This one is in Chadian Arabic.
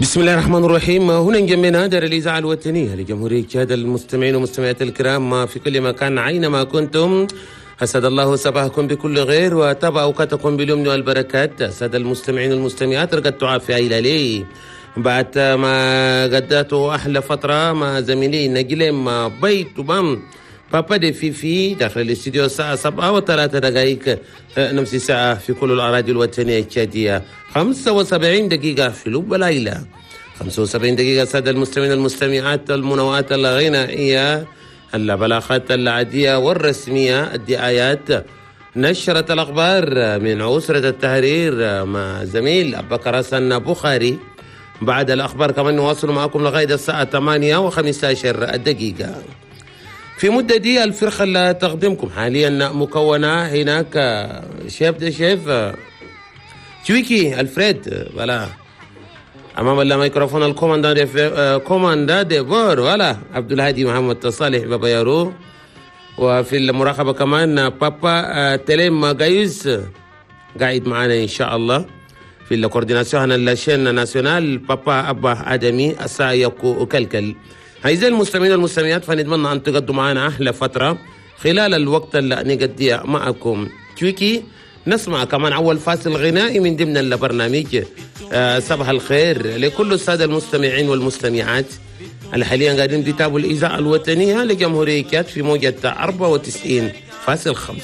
بسم الله الرحمن الرحيم. هنا انجمينا دار الإذاعة الوطنية لجمهورية تشاد. المستمعين والمستمعات الكرام في كل مكان أينما كنتم، أسعد الله صباحكم بكل خير وطاب أوقاتكم باليمن والبركات. السادة المستمعين والمستمعات، رقدتوا عافية إلى لي بعد ما قدرتوا أحلى فترة مع زميلي نجلم بيت بام بابا دي فيفي داخل الاستديو. الساعة 7:03، نفس الساعة في كل الأراضي الوطنية التشادية، 75 دقيقة في لب ليلة، 75 دقيقة. سادة المستمعين المستمعات، المنوعات الغنائية، البلاغات العادية والرسمية، الدعايات، نشرة الأخبار من أسرة التحرير مع زميل أبو بكر حسن بخاري. بعد الأخبار كمان نواصل معكم لغاية الساعة 8:15 دقيقة. في مدة دي الفرقة اللي تقدمكم حاليا مكونة هناك chef de chef تويكي الفريد، voilà، امام الميكروفون ال commandant de commandant de bord، voilà، عبد الهادي محمد صالح بابا يارو، وفي المراقبه كمان بابا تليم جايز قاعد معنا ان شاء الله. في ال coordination هنا la chaîne nationale بابا ابا ادمي السايق كلكل. أعزائي المستمعين والمستمعات، فنتمنى أن تقضوا معنا أحلى فترة خلال الوقت اللي نقضيه معكم. تويكي نسمع كمان أول فاصل غنائي من ضمن البرنامج. صباح الخير لكل السادة المستمعين والمستمعات اللي حاليا قاعدين بيتابعوا الإذاعة الوطنية لجمهورية تشاد في موجة 94.5.